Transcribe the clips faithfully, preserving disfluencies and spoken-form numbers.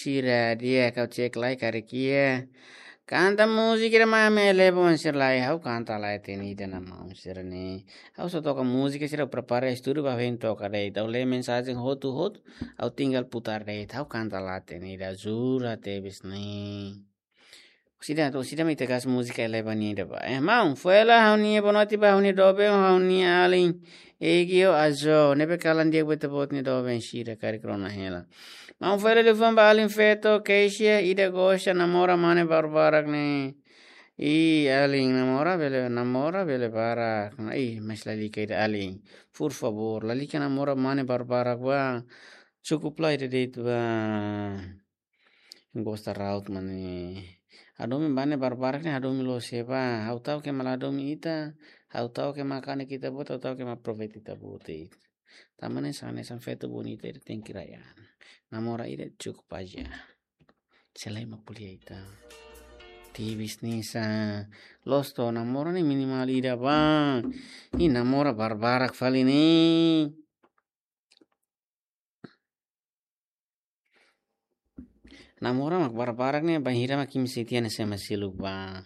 sira di'ak, ha'u cek lai karik iha. Kanta múzika ida mak ami eleva oan sira lai, ha'u kanta lai tenida na maun sira ne'e. Ha'u só toka múzika sira, prepara estúdiu ba hein toka de'it. Ha'u lee mensajen hotu-hotu, ha'u tinggal putar de'it. Ha'u kanta lai tenida, jura tebes ne'e. Orsida, orsida mak ita gasta múzika eleva nia ida ba. Eh, maun, fó hela ha'u-nia boa noite ba ha'u-nia doben, ha'u-nia alin Egio Ajo, ne'ebé kalan di'ak ba ita-boot nia doben sira karik rona hela. Maun, fó hela liafuan ba alin feto, Keisha, ida gosta namora mane barbarak ne'e. Ih, alin, namora bele, namora bele barak. Ih, mas lalika ida alin. Por favor, lalika namora mane barbarak ba. Cukup lai ida de'it ba. Gosta raut mane. Hadomi mane barbarak ne'e hadomi loos iha ba. Ha'u ta'uk ke ema la hadomi ita. Ha'u ta'uk ke ema kanek ita-boot, ha'u ta'uk ke ema aproveita ita-boot. Tanba ne'e hanesan feto bonita ida tenke rai an. Namora ida cukup aja. Selain mak ko'alia ita. Tebes ne'e sá. Loos to, namora ne'e minimal ida ba. Ih, namora barbarak fali ne'e. Namora mak barbarak ne'e, bainhira mak imi sente hanesan ema seluk ba.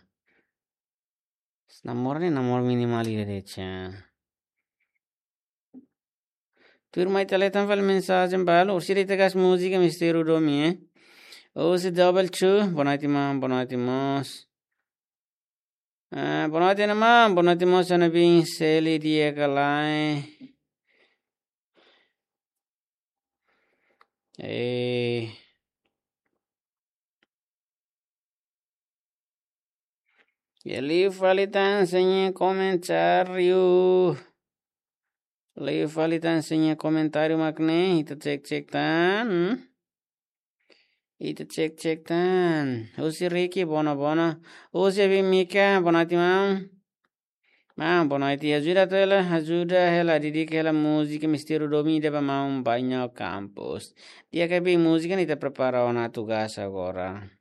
Namora ne'e namora minimal ida de'it sá. Tuirmai ita lee tan fali mensajen balu, orsida ita gasta múzika Mistériu Domin, eh. Husi Double Two, boa noite maun, boa noite mós. Ah, boa noite, maun. Boa noite, maun. Sá ne'ebé, Seli di'ak ka lae? Eh. Liu fali tan sira-nia komentáriu. Liu fali tan sira-nia komentáriu mak ne'e, ita cek-cek tan. Ita cek-cek tan. Husi Ricky, bona, bona. Husi Abi Mika, boa noite maun. Maun, boa noite. Ajuda atu hela, ajuda hela, didik hela múzika Mistériu Domin ida ba maun Bainho Campos. Di'ak ka Abi, múzika ne'e ita prepara ona atu gasta agora.